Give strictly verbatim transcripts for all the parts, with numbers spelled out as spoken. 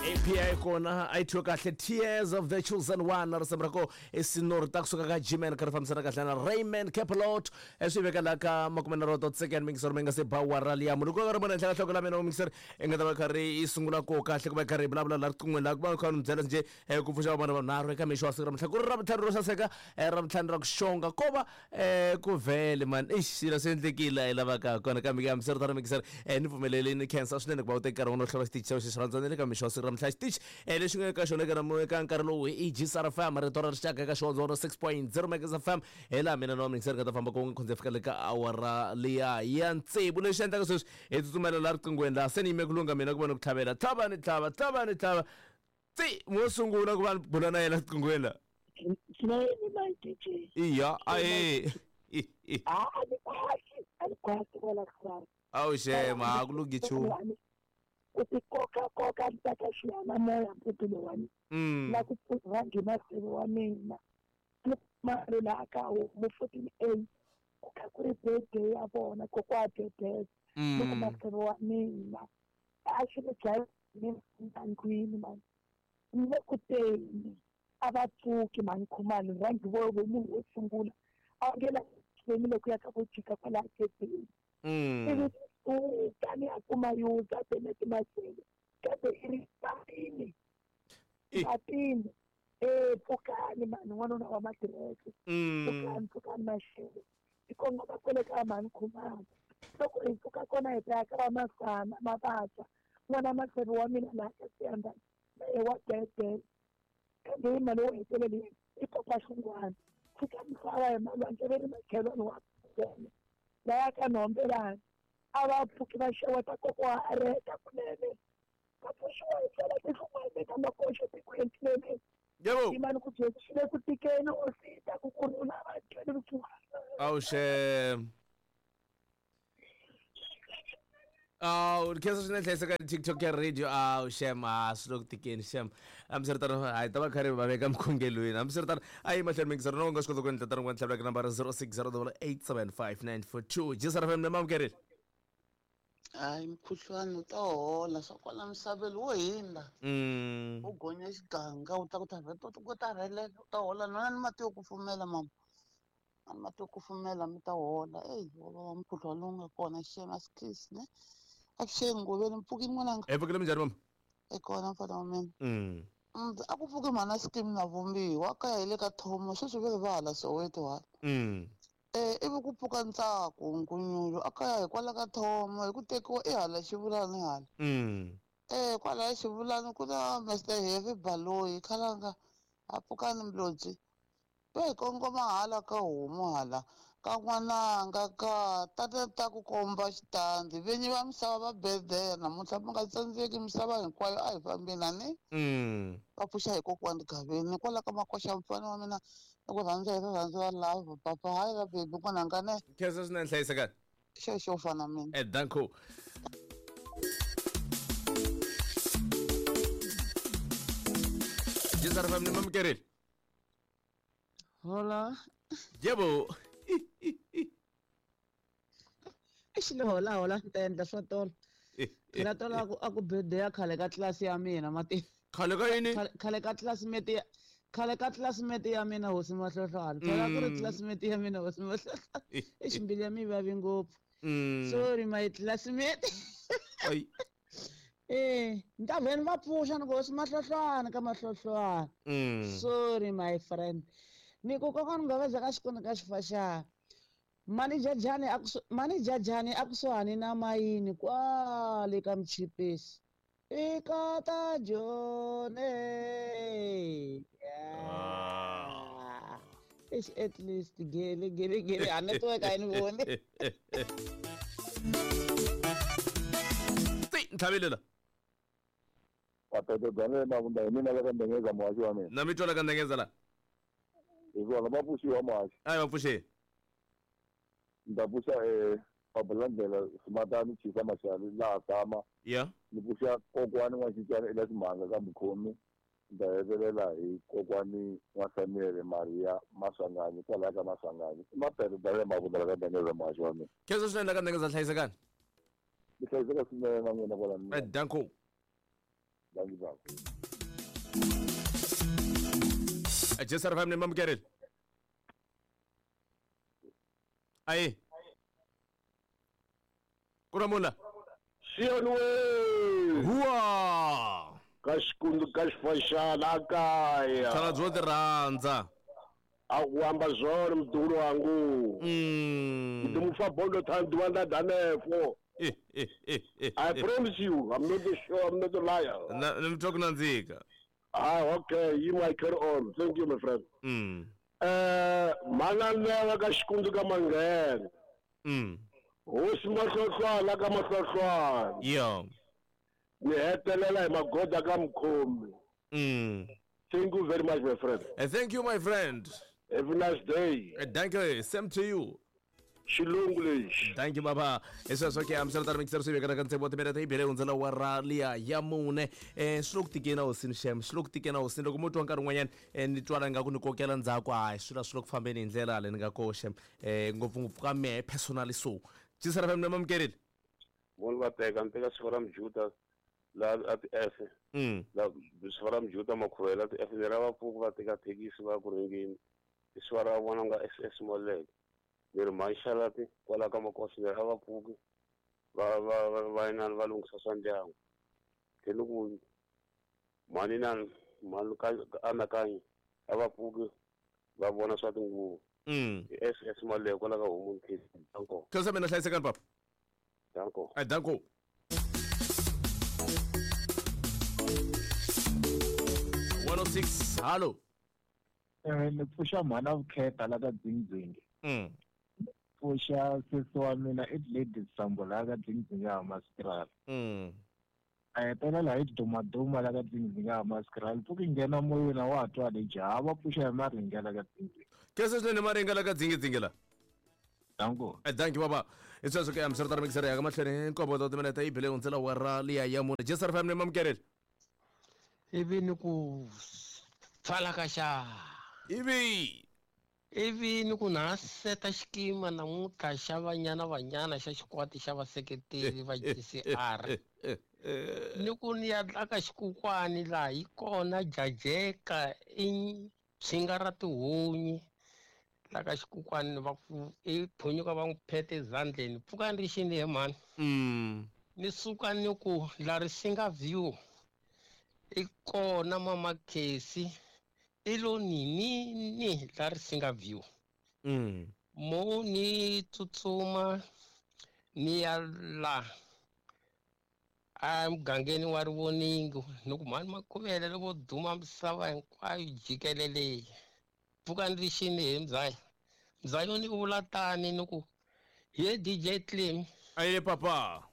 A P I kona a yi thyiwe kahle Tears of the Chosen One na risimu ra ko i sinori ta kusuka ka G-Man kha ri fambisana kahle na Raymond Capelot swi veka laha ka makume nharhu dot second mingiseri mi nga se ba wara liya munhu ko ri vona henhla ka nhloko la mina mingiseri i nga ta va kha ri yi sungula ko kahle ku va kha ri vulavula laha riqingweni laha ku va kha ni byela njhe ku pfuxa vanhu vanharhu eka mixo wa siku ra mhla ku ri ravutlhanu ro saseka ravutlhanu ra ku xonga ko va ku vhele man ixi swilo swi endlekile hi lavaka kona kambe ke hambiswiritano mingiseri ni pfumeleli ni khensa swinene ku va u teka nkarhi wa wena u hlava xitichi xa wena xi rhandza ni le ka mixo wa siku ra mhla xitichi lexi nga eka xona eka eka nkarhi lowu i G S R F M rito ra rixaka eka xihondzo six point zero Megas F M hi laha mina na wa mingiseri nga ta famba ku khonze fika le ka awara liya ya tsevu lexi endlaka sweswi hi tsutsumela laha riqingweni laha se ni yime ku lungha mina ku va ni ku tlhavela tlhava ni tlhava tlhava ni tlhava tsi mo sungula ku va ni bula na yena riqingweni laha iya ae awu xema a ku lunghi nchumu ku ti koka koka ni ta xiyanimoya mpfutulu wa mina na ku rhangi masivi wa mina mali laha ka homu fourteen A ku kha ku ri birthday ya vona kokwa bebeza loko masivi wa mina a xi ni dlaya mina ndlwini mani ni le ku teni a va pfuki mani khumalo rhangi vo vo munhu wo sungula a nge la ni ku ya ka vo jika kwalaha gedeni ivi u tani a kuma yuza Bennett Masele kambe i ri patini patini e pfukani mani n'wanuna wa madireke pfukani pfukani Maxele hi kongoma kwele ka mani Khumalo loko hi pfuka kona hi ta ya ka va Masana Mabasa n'wana Masele wa mina laha ka Siyandhani na ye wa Bebele kambe hi mali wo heteleli i Papa Xungwana fika misava hi malwandle ve ri makhelwani wa kona laya ka Nhombelani a va pfuki va xeweta kokwa a reta kunene va pfuxiwa hi ndlela tinhlungwana ta makoxo tikweni tinene yebo imani ku byela swi le ku tikeni o sita ku kurhula va twele vusiwana awu xem awu khensa swinene hlayiseka TikTok ya radio awu xem a swi le ku tikeni xem hambiswiritano hayi ta va kha ri va veka mikhongelweni hambiswiritano a yi mahlweni mingisero no nga swi kota ku endla tano ku tlhavela ka nambara zero six zero double eight seven five nine four two G S R F M na mamukerile hayi mukhuhlwani wu ta hola swa kwala misaveni wo hindza u gonya xiganga u ta ku ta ku ta rhelela u ta hola nwana ni mati yo kufumela mama a ni mati yo kufumela mi ta hola eyi wo vava mukhuhlwani lowu nga kona xema asikisi ne avuxeni ngoveni mpfukini n'wananga e pfukile minjhani mama e kona mfana wa mina a ku pfuki mhana scheme na vumbiwa kaya hi le ka thomo sweswi ve ri va hala Soweto hala eh ivi ku pfuka ntsako nkunyulo a kaya hikwalaho ka thomo hi ku tekiwa i hala xivulani hala eh kwalaya xivulani ku na Mister Heavy Baloyi khalanga a pfukani mlodzi va hi kongoma hala ka homu hala ka n'wananga ka tata ta ku komba xitandi vinyi va misava va bedela namuntlha mi nga tsandzeki misava hinkwayo a hi fambeni ani va pfuxa hi kokwani Gaveni kwala ka makoxa mfana wa mina i ku rhandza hi rirhandzu ra love papa hayi ra bebi n'wananga ne khensa swinene hlayisekani xexo fana mina e danko G S R F M ni mamukerile hola yebo xile hola hola ni ta endla swa tolo phela tolo a ku a ku birthday ya khale ka tlilasi ya mina mati khale ka yini khale ka classmate ya khale ka classmate ya mina hosi Mahlohlwana phela ku ri classmate ya mina hosi Mahlohlwana i ximbili ya mi vavi ngopfu sorry my classmate ay eh ni ta vheni va pfuxa ni ku hosi Mahlohlwana ka Mahlohlwana sorry my friend ni ku kokwana Ngaveza ka xikoni ka xifaxana mani jajani a mani jajani a kusuhani na mayini kwale ka Mchipisi i kata jone yeah. At least gele gele gele a network a yi ni voni ti ntlhavile la Papeto bya mavunda hi mina la ka Ndengeza muhaxi wa mina na mi twala ka Ndengeza la hi kona va pfuxiwa muhaxi a va pfuxeni ni ta pfuxa um Pabulandlela Simatani Chisa Maxali laha tshama ya ni pfuxa kokwani N'waxincana ela Ximhanga ka Mukhomi ni ta hetelela hi kokwani N'wa-Samuel Maria Maswanganyi kwalaya ka Maswanganyi i Mapeto bya mavunda la ka Ndengeza muhaxi wa mina khensa swinene la ka Ndengeza hlayisekani mi hlayiseka swinene na n'wina kwala danko Thank you baba. Jesar F M ni mamukerile. Ayi. Kuramula. Siyonwe. Huwa. Ka xikundu ka xifaxana kaya. Tsala byo ti rhandza. A ku amba zwona mdukulu wangu. Mm. Ndi mufa bondo thandu wanda danefo. Eh eh eh eh. I promise you, I'm not a show, I'm not a liar. Na ni mtwa ku nandzika. Ah, okay, you might carry on. Thank you, my friend. Mm. Eh, manana ka xikundu ka manghena. Mm. Hosi mahlohlwana ka mahlohlwana. Yo. Ni hetelela hi magoda ka mukhomi. Mm. Thank you very much, my friend. Uh, thank you, my friend. Have a nice day. Uh, thank you. Same to you. Xilungu lexi. Thank you, baba. Esweswo ke amsela mixer swi vekana ka ntshembo timere ta ibele hundzela wa ra liya ya mune. Eh swi lo ku tikeni hosini xem, swi lo ku tikeni hosini loko mo twa nkarhi wun'wanyana eh ni twala nga ku ni kokela ndzhaku hayi swilo swi lo ku fambeni hi ndlela leyi ni nga koxe. Eh ngopfungopfu ka mehe personally so. Jesar F M ni mamukerile. Vona va teka ni teka siku ra Mjuta la a ti F. Mm. La siku ra Mjuta makhuvela ti F ni ra va pfuka va teka thekisi va ku ringeni. Siku ra vona nga S S Moleke. Ni ri maxalati kwala ka makosi ni ra va pfuki va va va va inani va lunghisa swa ndyangu. Tlhela ku mhani inani mhani ka anakanyi a va pfuki va vona swa tinguvu. Mm. I S S Moleke kwala ka Homu Nkhizi. Danko. Khensa mina hlayisekani papa. Danko. Ai danko. one oh six halo. Eh ni pfuxa mhana vukheta la ka Dzingdzingi. Mm. Pfuxa sesi wa mina i Lady Sambo la ka Dzingdzingi ya Maskrala. Mm. A hetelela hi dumaduma la ka Dzingdzingi ya Maskrala. Pfuki nghena moyeni wa twa le jaha va pfuxa hi maringa la ka Dzingdzingi. Khensa swinene maringa la ka Dzingdzingi la. Danko. Eh thank you baba. Isweswo ke amsela mixer ya ka mahlweni nkombo ta timinete yi bile hundzela wa ra liya ya mune. Jesar F M ni mamukerile. Ivi ni ku pfala ka xa. Ivi. Ivi ni ku na seta xikima namuntlha xa Banyana Banyana xa xikwati xa vaseketeri va G C R. Ni ku ni ya ka xikukwani laha yi kona jajeka i tshinga ra tihunyi la ka xikukwani va ku i phonyuka va n'wi phete ezandleni pfuka ni ri xini he mhani. Mm. Ni suka ni ku la Risinga View i kona mama Casey i lo ninini la Risinga View. Mm. Mo ni tsutsuma ni ya la a mugangeni wa Rivoningo ni ku mhani Makhuvele loko duma misava hinkwayo jikelele pfuka ni ri xini he mzaya mzaya ni vula tani ni ku ye D J Clem aye papa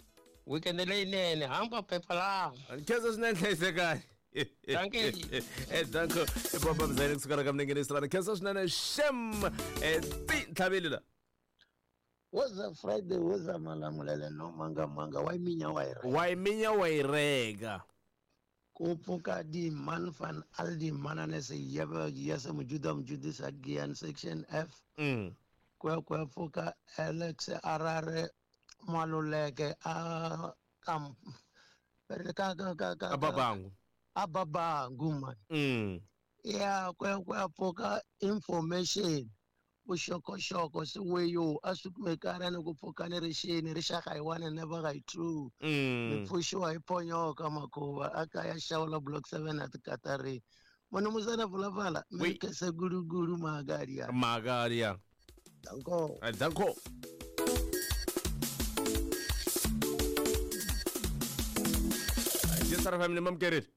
weekend leyinene hamba phepha laha khensa swinene hlayisekani. Dankie. Eh danko papa mzaya kusuka ka mnengeni sirana khensa swinene shem eh ti ntlhaveli la. Woza Friday woza malamulele no manga manga wa minya wa ira. Wa minya wa irega. Ku pfuka di man van al di manane se yeba yesa mujuda mjudisa gian section F. Mm. Kwa kwa pfuka Alex Arare Maluleke a kam ka ka ka ka ababangu. Ababangu man. Mm. Yeah, kwa kwa pfuka information. Vuxokoxoko swiweyo a swi kumekana ni ku pfuka ni rixini rixaka hi one never hi two. Ni pfuxiwa hi ponyoka makhuva a kaya xawula block seven at Katari. Munhu musana pfulapfala mi kese gulugulu magaria. Magaria. Danko. Danko. Jesar F M ni mamukerile.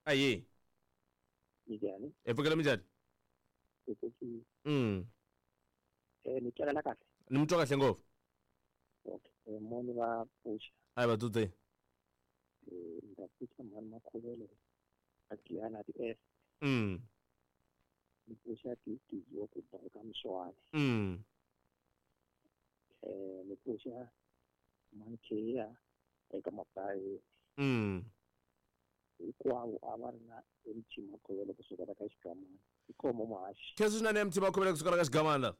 Ayi. Minjhani? E pfukela minjhani? Mm. Eh ni twala kahle. Ni mutwa kahle ngopfu. Okay, moni va pfuxa. Ayi va tutse. Eh nda pfuxa mhani Makhuvele a Giyana ti S. Mm. Ni pfuxa ti ti yo ku ka Mswani. Mm. Eh ni pfuxa mhani Kheya eka Mabayi. Mm. Hinkwavo a va ri na M T Makhuvele kusuka ka Xigamana. Ikomo muhaxi. Khensa swinene M T Makhuvele kusuka ka Xigamana.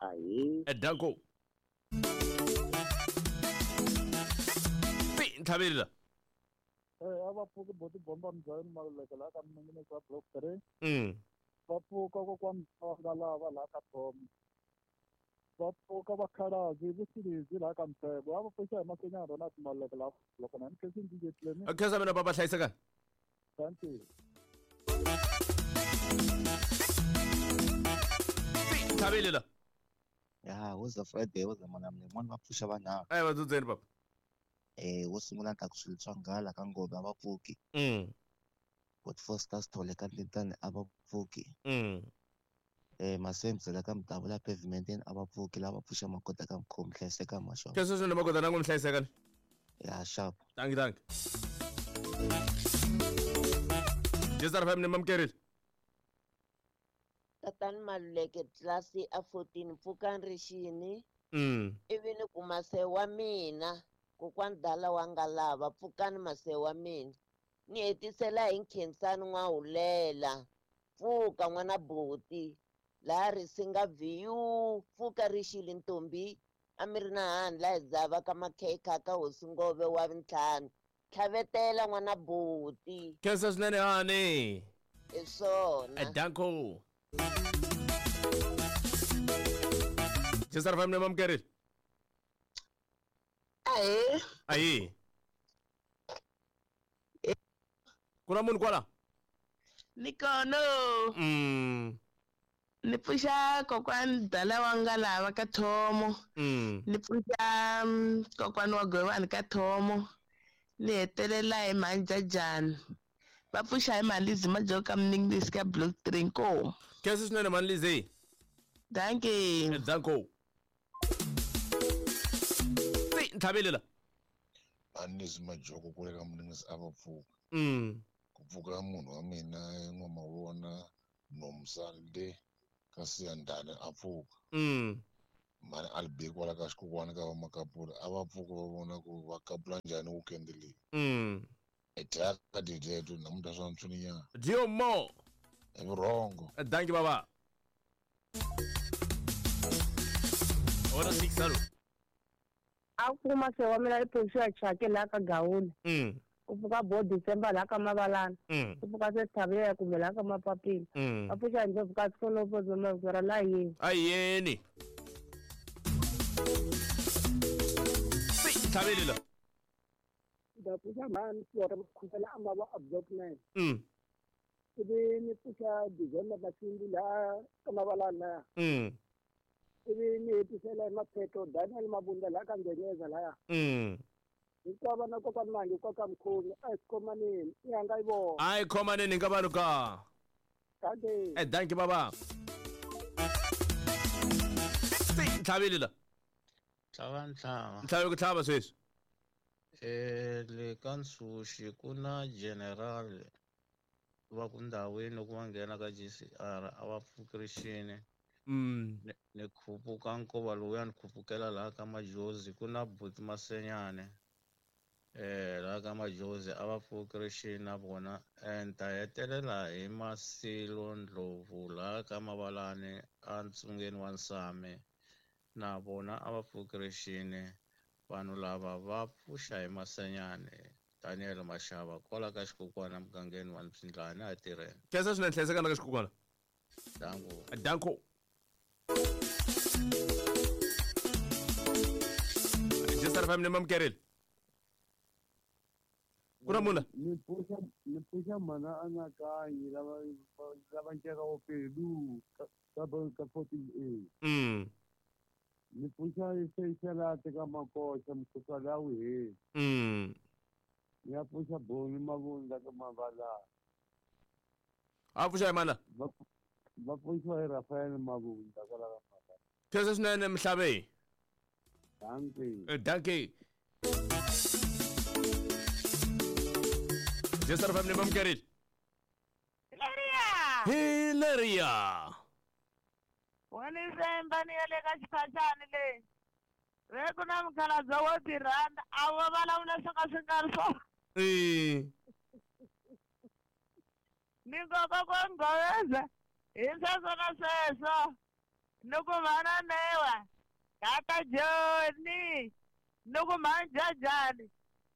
Ahi. Eh danko. Ti ntlhaveli la. Eh a va pfuki boti bomba mbyayini Maluleke laha ka minengeneko wa block three. Mm. Va pfuka kokwani Tsonga lava laha ka Thomo. Va pfuka vakhalabye vusilezi laha ka Mtshebo. A va pfuxa hi Masenyana Ronald Maluleke laha loko na ni khensi D J Clemi. Khensa mina baba hlayisekani. Thank you. Thabile la. Ya, woza Friday woza mwana mwana va pfuxa vanharhu. Eh va dzudzeni baba. Eh wo sungula ta ku swilo swa nghala ka Ngove a va pfuki. Mm. But Foster Sithole ka Ndlentane a va pfuki. Mm. Eh Masemzela ka Mdavula pavementeni a va pfuki lava pfuxa makota ka Mkhomi hlayiseka masho. Khensa swinene makota nangu mhlayisekani. Ya sharp. Thank you thank you. Jezar F M ni mamkerile. Tatani Maluleke tlilasi a fourteen pfukani rixini. Mm. Ivi ni ku mase wa mina kokwani dala wa nga lava pfukani mase wa mina. Ni hetisela hi Nkhensani N'wahulela. Pfuka n'wana buti. Laha Risinga V U pfuka rixile ntombi. A mi ri na hani laha hi dzava ka makhekha ka hosi Ngove wa ntlhanu. Tlhavetela n'wana buti. Khensa swinene hani. Hi swona. Danko. Jezar F M ni mamkerile. Ahe. Ayi. Ku na munhu kwala? Ni kona. Mm. Ni pfuxa kokwani Dala wa nga lava ka Thomo. Mm. Ni pfuxa kokwani wa Govani ka Thomo. Ni hetelela hi Manjajani. Va pfuxa hi Malizi Majoka Mninglisi ka block three nkomu. Khensa swinene Malizi. Thank you. Danko. Nthabile la. Malizi Majoko kule ka Mninglisi a va pfuka. Mm. Ku pfuka munhu wa mina N'wamavona Nomsande ka Siyandhani a pfuka. Mm. Mani Albert kwala ka xikokwana ka va Makapula a va pfuka va vona ku va kapula njhani weekend leyi. Mm. Etaka dideto namuntlha swa ntswininyana. Dio mo. I vurhongo. Thank you baba. Ora six alo. A ku mase wa mina i pfuxa chake la ka Gawula. Mm. Ku pfuka bo December la ka Mavalana. Mm. Ku pfuka se Thabile kumbe la ka Mapapila. Mm. A pfuxa ndzi pfuka sikolo po zoma la yini. Ayeni. Thabile la. Da pfuxa mani swa khusela amba va block nine. Mm. Ivi ni pfuxa December Masimbi la ka Mavalana. Mm. Ivi ni hetisela hi Mapheto Daniel Mabunda la ka Ngenyeza laya. Mm. Hinkwavo na kokwani Mangi kwa Mkhumi a hi khomaneni i hanga yi vona. A hi khomaneni ka vanhu ka. Thank you. Eh thank you baba. Tlhavile la. Tlhava ntlhava. Ntlhava ku tlhava sweswi. Eh le ka Nsuxi ku na general va ku ndhawini loko va nghena ka G C R a va pfuki rixini. Mm. Ni, ni khupuka nkova lowuya ni khupukela laha ka Majozi ku na buti Masenyane. Eh laha ka Majozi a va pfuki rixini na vona. Ni ta hetelela hi Masilo Ndlovu laha ka Mavalani a ntsungeni wa Nsame. Na vona a va pfuki rixini. Vanhu lava va pfuxa hi Masenyane. Daniel Mashava kwala ka xikokwana mugangeni wa Mpsindlani a tirheni. Khensa swinene hlayisekana ka xikokwana. Danko. Danko. Jezar F M ni mamkerile. Ku na munhu? Ni pfuxa ni pfuxa mhana Anakanyi lava lava nceka wo Pelu ka ka fourteen A. Mm. Ni pfuxa Seychelate ka Makoxa mukhuhlwani a wu heli. Mm. Ni ya pfuxa Boni Mavundla ka Mavalana. A pfuxa hi mana? Va va pfuxiwa hi Rafael Mavundla kwala ka Mavalana. Khensa swinene Mhlave. Dankie. Dankie. Jezar F M ni mamkerile. Hilaria. Hilaria. Wani semba ni ya le ka xiphaxani leyi. Ve ku na mukhalabye wo ti rhandza a va vulavula swo ka swi nga ri swona. Eh. Ni nkoka ku nghoveza hi sweswo na sweswo. Ni ku mhana Newa tata Joni ni ku mhani Jajani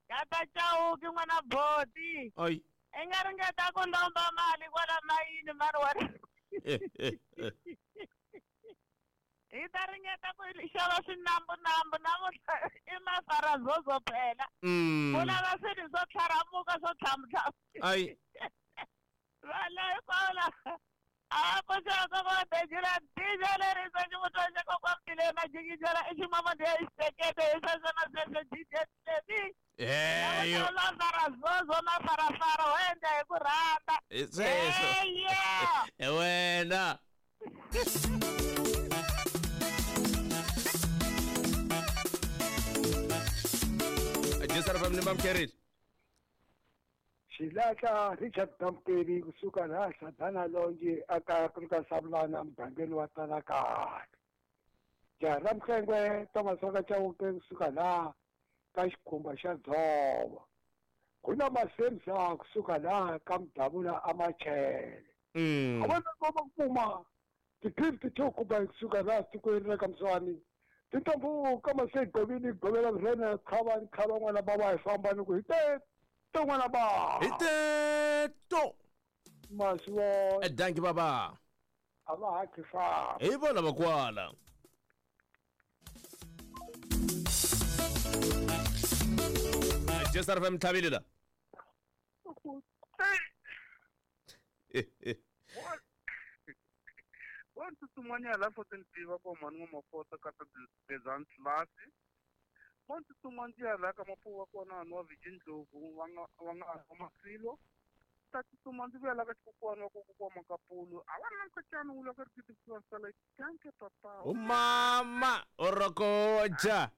Tata Chauke n'wana boti. Ay. I nga ringeta ku lomba mali kwala mayini mani wa hi ta ringeta ku xava swinambunambu namuntlha i mafarazozo phela. Ku lava swilo swo tlharamuka swo tlhamutlhamu. Ay. Vana hinkwavo lava a va pfuxaka va dejela dija leri swa xivutwa xa kokwamtile majikijela i ximamadi ya xitekete hi sweswo na sweswo D J Levi. Eyo. Mafarazozo mafarafara wo endla hi ku rhandza. Sweswo. Eyo. Wena. Jisara fam ni mamkerile. Xilahla Richard Damperi kusuka laha Sadana Longe aka ka Sabulana mugangeni wa Talakani. Jaha ra Mhlengwe Thomas wa ka Chauke kusuka laha ka xikhumba xa Dzovo. Ku na Masemsa kusuka laha ka Mdavula aMachele. A vona va kuma ti-gift to kuba kusuka laha tikweni ra ka Mswani. Tintombo ka Masegovini govela rena khava khava n'wana baba hi famba ni ku hi te to n'wana ba. Hi te to. Maswo. Danki baba. A va ha khifa. Hi vona va kwala. Jisara fam tlhavile la. Wa ntsutsumanyana la fourteen B va ko mhani n'wa ka ta Bezan class. Wa ntsutsumanyana la ka mapuwa wa kona nwa Virgin Ndlovu va nga va nga wa Masilo. Ta tsutsuma ndzi vuya la ka xikokwana wa kokwana Makapulu. A va na nkatshana wu la ka rikiti ku sala kanke papa. Umama orokoja.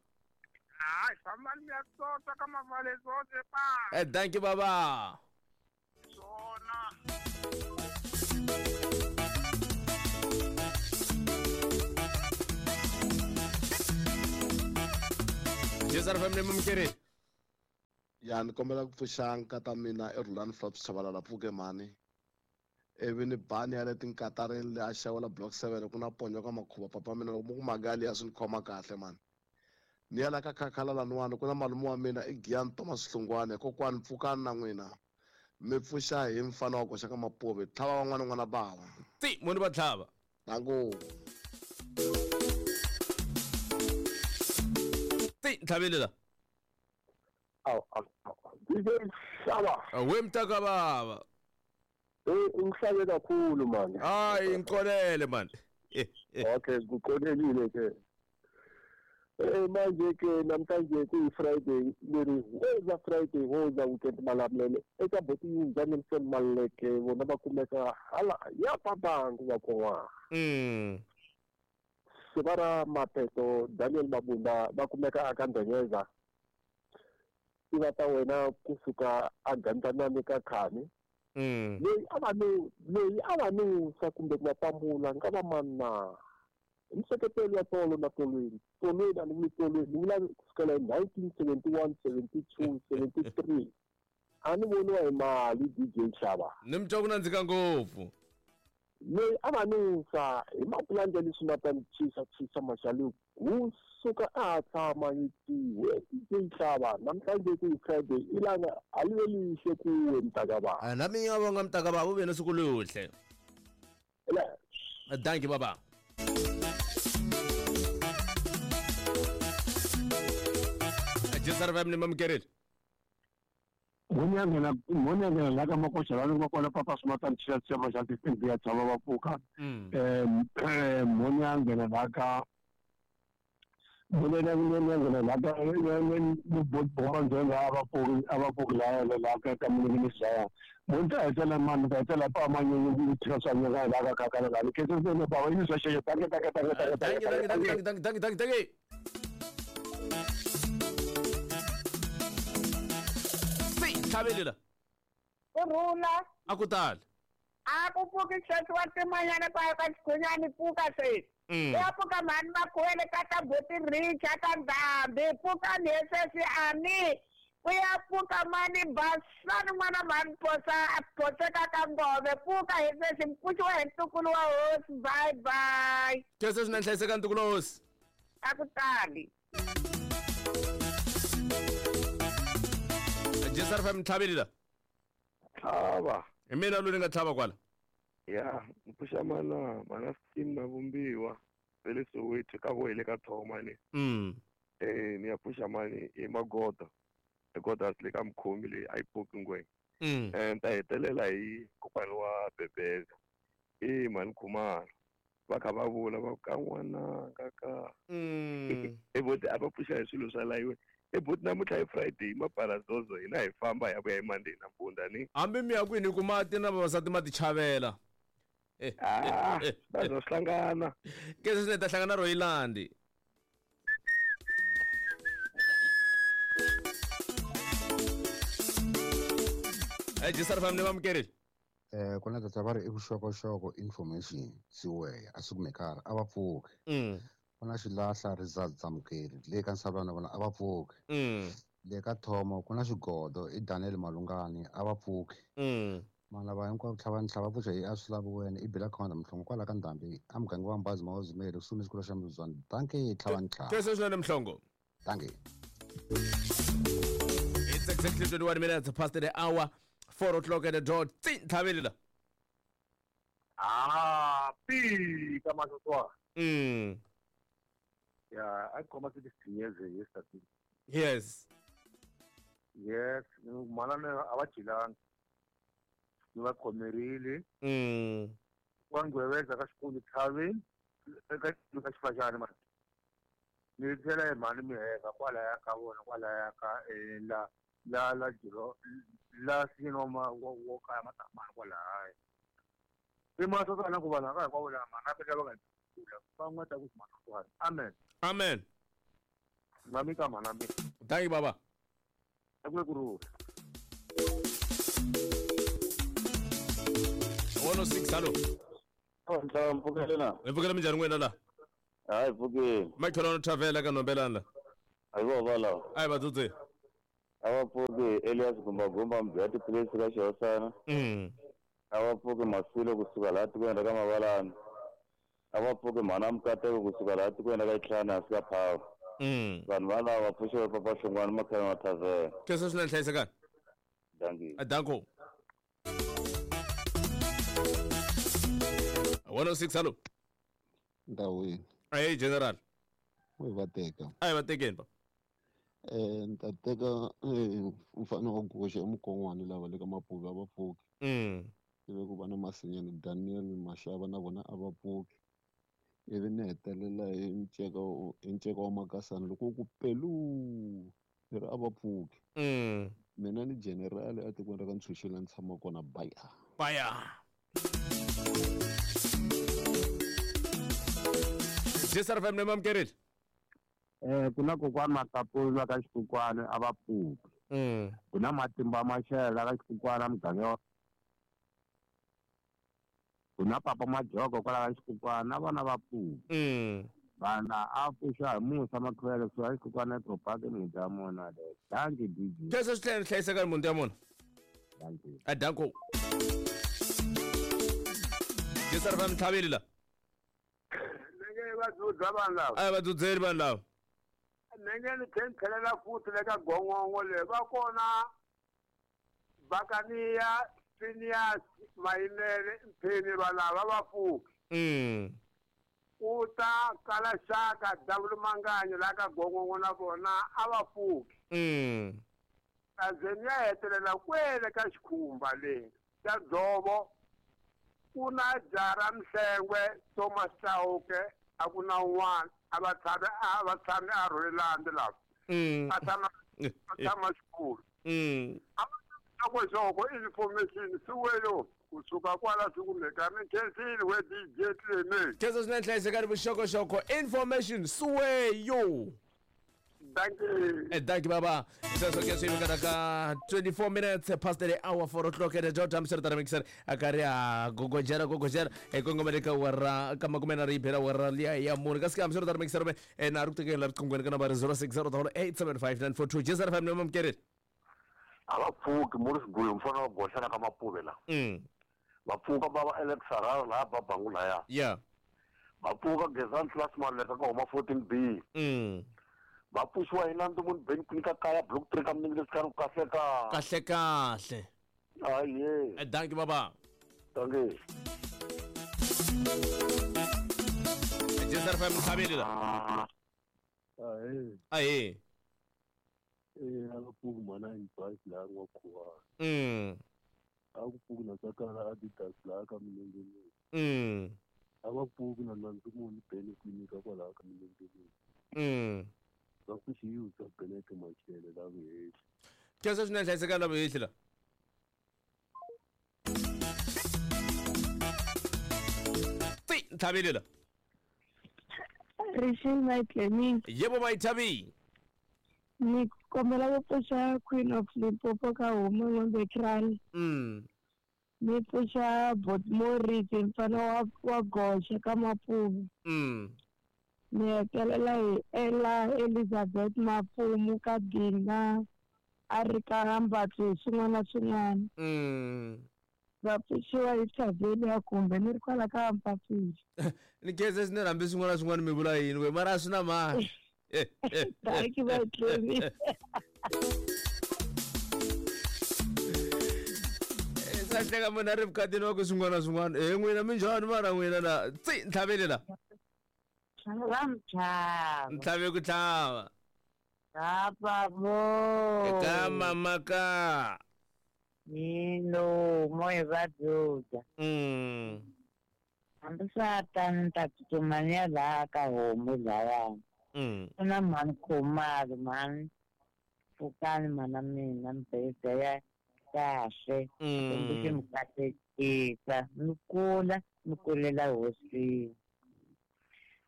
Hayi fambani ya tsotsa ka mavale tsotse pa. Eh thank you baba. Swona. Jisara fam ni mamkerile. Ya ni kombela ku pfuxa nkata mina i Rhulani Flops Chabalala pfuke mhani. Ivi ni bani ya le tinkatarini le a xawela block seven ku na ponyo ka makhuva papa mina loko mu ku magali ya swi ni khoma kahle mani. Ni ya la ka khakhala laniwani ku na malume wa mina i Giyani Thomas Hlungwane kokwani pfukani na n'wina. Mi pfuxa hi mfana wa koxa ka mapuve tlhava van'wana n'wana bava. Ti muni va tlhava. Nangu. Ti tlhavile la. Aw aw. D J Shaba. We mtaka baba. Eh ungihlabe kakhulu manje. Hayi ngiqolele manje. Okay ngiqolelile ke. Eh manje ke namhlanje kuyi Friday leri woza Friday woza weekend malamulele eka boti yinza Nelson Maleke vona va kumeka hala ya pabangu va kona. Mm. Sivara Mapeto Daniel Mabunda va kumeka aka Ndonyeza. Iva ta wena kusuka agandanani ka khani. Mm. Leyi a va no leyi a va no sa kumbe ku va pambula nga va manna. Mseketelo ya tolo na tolweni. Tolweni a ni vuli tolweni ni vula kusukela hi nineteen seventy-one, seventy-two, seventy-three. A ni voniwa hi mali D J Xava. Ni mi twa ku nandzika ngopfu. Leyi a va nusa hi mapulani ya leswi nga ta ni chisa chisa maxalu kusuka a ha tshama yi tiwe D J Xava namhlanje ku Friday ilanga a li ve lihle kuwe mntakababa. A na mina vonga mntakababa u ve na siku luhle. Thank you baba. Jisara fam ni mamkerile. Ngonyangena ngonyangena la ka makoxa la ni kona papa sumata ntshila tsema xa ti ya tshama va pfuka. Eh ngonyangena la ka ngonyangena la ka ni bomba njenga ava pfuki ava pfuki la la ka ka munhu ni Munta etela mani ka etela pa manyunyu ku tshika swa nyika la ka ka ka la ke se ne ba yi swa xexo tanke tanke tanke tanke tanke tanke tanke tanke tanke tanke. Tlhavele la. Kurhula. A ku tali. A ku pfuki sweswi wa timanyana kwa ka xikhunyani pfuka sweswi. Ya pfuka mhani makhuwele ka ta buti Richa ka Ndhambi pfuka ni sweswi ani. Ku ya pfuka mani basani n'wana mhani phosa phoseka ka ngove pfuka hi sweswi mpfuxiwa hi ntukulu wa hosi bye bye. Sweswi swi na nhlayiseka ntukulu wa hosi. A ku tali. J S R F M tlhaveli la. Tlhava. Hi mina loyi ni nga tlhava kwala. Ya, mpfuxa mana, mana scheme na vumbiwa. Vele Soweto ka vo hi le ka Thoma ni. Mm. Eh ni ya pfuxa mani i Magoda. Goda le ka mukhomi leyi a yi pfuki ngwenya. Mm. Eh ni ta hetelela hi kokwana wa Bebeza. Eh mani Khumalo. Va kha va vula va ka n'wananga ka. Mm. E buti a va pfuxa hi swilo swa layiwe. E buti namuntlha hi Friday maparazozo hina hi famba hi ya vuya hi Monday nampundza ni. Hambi mi ya kwini ku mati na vavasati ma ti chavela. Ah, va zo hlangana. Ke se ni ta hlangana Royilandi. Eh J S R F M ni vamukerile. Eh ku na tata va ri i vuxokoxoko information siweya a swi kumekala a va pfuki. Mm. Ku na xilahla results amukeri le ka Nsavana vona a va pfuki. Mm. Le ka Thomo ku na xigodo i Daniel Malungani a va pfuki. Mm. Mana va hinkwavo tlhava ni tlhava pfuxa hi a swi lavi wena i Bila Khonda Mhlongo kwala ka Ndhambi a muganga wa Mbazi Mawazimele kusuhi ni xikolo xa Mzuzwana. Dankie tlhava ni tlhava. Sweswo swinene Mhlongo. Dankie. It's exactly twenty-one minutes past the hour. four o'clock at the dot. Tlhaveli la. Ah, pi ka masoswa. Mm. Yeah, I come to this yesterday. Yes. Yes, manana a va chilanga. Ni va khomerile. Mm. Wa ngweveza ka xikolo tlhaveni eka ka xifajana mani. Ni tlhela hi mhani miheka kwalaya ka vona kwalaya ka eh, la la la jiro la sino ma wo wo ka matamani kwalaya. I masoswana ku vanhu ka hinkwavo lama na peka va nga kula va n'wa ta ku masoswana. Amen. Amen. Mami ka mana mi. Thank you baba. Akule ku one oh six hello. Oh ntlhava mpfukele na. Hi pfukele minjhani n'wina la? Hayi pfukile. Makhelwani Thavela ka Nombelana la. A hi vo va lava. A hi vadzudze. A va pfuki Elias Gumbagumba mbyati tiphilisi ka Xihosana. Mm. A va pfuki Masilo kusuka laha tikweni ra ka Mavalani. A va pfuki Mhana Mukateko kusuka laha tikweni ra ka Itlhana hansi ka Phawa. Mm. Vanhu valava va pfuxiwe Papa Hlongwane Makhelwani wa Thavela. Sweswo swinene hlayisekani. Dankie. Danko. one oh six hello. Ndawini. Hey General. We va teka. A hi va tekeni pa. Eh ni ta teka eh mfana wa goxa emukon'wana lava le ka Mapuve a va pfuki. Mm. Ivi ku va na Masinyane Daniel Mashava na vona a va pfuki. Ivi ni hetelela hi nceka hi nceka wa Makasana loko ku pelu ni ri a va pfuki. Mm. Mina ni General etikweni ra ka Ntshunxela ni tshama kona baya. Baya. J S R F M ni mamukerile. Eh ku na kokwana Matapula ka xikukwana a va pfuki. Mm. Ku na Matimba Mashela ka xikukwana muganga. Ku na Papa Majoko kwala ka xikukwana na vona va pfuki. Mm. Vana a pfuxa hi Musa Makhwele kusuka xikukwana edorobeni muti ya mona le. Dankie D J. Sweswo swi tlhela hlayisekani muti ya mona. Dankie. A danko. J S R F M tlhaveli la. Va dzudza vanhu lava. A hi va dzudzeli vanhu lava. Nenge ni tlhela ni tlhelela futhi le ka gongongo le va kona Bakaniya Phineas Mayimele Mpheni va lava va pfuki. Mm. Ku ta kala xaka W Manganyi la ka gongongo na vona a va pfuki. Mm. Kaze ni ya hetelela kwele ka xikhumba le xa dzovo ku na Jara Mhlengwe Thomas Chauke a ku na un'wana a va tshame a va tshame a Rhulelandi lava. Mm. A tshama a tshama xikulu. Mm. Xoko information siwelo kusuka kwala sikumeka mi khensile we D J Clement. Sweswo swinene hlayisekani vuxokoxoko information siweyo. Dankie. Eh dankie baba. Sweswo ke swi vikana ka twenty-four minutes past the hour four o'clock at the dot amsere mixer a karhi a gogojera gogojera e kongomele ka wara ka makume na ri bela wara liya ya mune kasi ka amsere mixer me e na ri ku tekela riqingweni ka nambara zero six zero eight seven five nine four two J S R F M ni mamukerile. A va pfuki Morris Gulu mfana wa goxa ka Mapuve la. Mm. Va pfuka bava Alex Sarara laha Babangu laya. Yeah. Va pfuka Gezan Class Maleka ka homa fourteen B. Mm. Va pfuxiwa hi Nandzu munhu Ben Queen ka kaya block three ka minenge leswi kahle ka. Kahle kahle. Aye. Dankie baba. Dankie. Jezar F M Mthabeli la. Aye. Aye. Eh akuphuki mana advice la ngwakhuwa. Mm. Akuphuki nasakala Adidas la ka minenge. Mm. Akuphuki na Nandzu munhu Ben Queen ka kwala ka minenge. Mm. Va pfuxiwa Benete Machele la vuhehli. Khensa swinene hlayiseka la vuhehli la. Ti Nthabeli la. Rishil my clinic. Yebo my Thabi. Ni kombela ku pfuxa Queen of Limpopo ka homu Ngombe Kral. Mm. Ni pfuxa Bot Morris mfana wa wa goxa ka Mapumu. Mm. Ni hetelela hi Ella Elizabeth Mapumu ka Dina a ri ka Mbatlu swin'wana na swin'wana. Mm. Va pfuxiwa hi Thaveli ya kumbe ni ri kwala ka Mpapili. Ni khensa swinene hambi swin'wana na swin'wana mi vula yini we mara a swi na mali. Thank you my Clemi. Sa hleka munhu a ri vukatini wa ku swin'wana na swin'wana e n'wina minjhani mara n'wina la tsi Nthaveli la. Va mtlhava. Ntlhave ku tlhava. Kapa mo. Eka mama ka. Nilo moya va dzuda. Mm. Hambi swa tani ni ta tsutsuma ni ya laha ka homu lawani. Mm. Ku na mhani Khumalo mhani pfukani mhana mina mbhedza ya kahle. Xikwembu xi mi katekisa mi kula mi kulela hosini.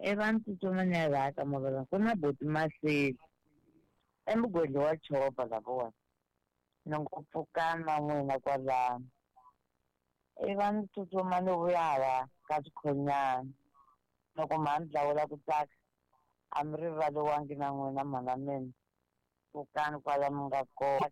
Ivi ni tsutsuma ni ya laha ka mavela ku na buti Maseli emugwedli wa chopa lavawani. Ni ngo pfukani na n'wina kwalano. Ivi ni tsutsuma ni vuya hala ka swikhonyana. Loko mhani dlawula ku tsaka a mi rivaliwangi na n'wina mhana mina. Pfukani kwala mi nga kona.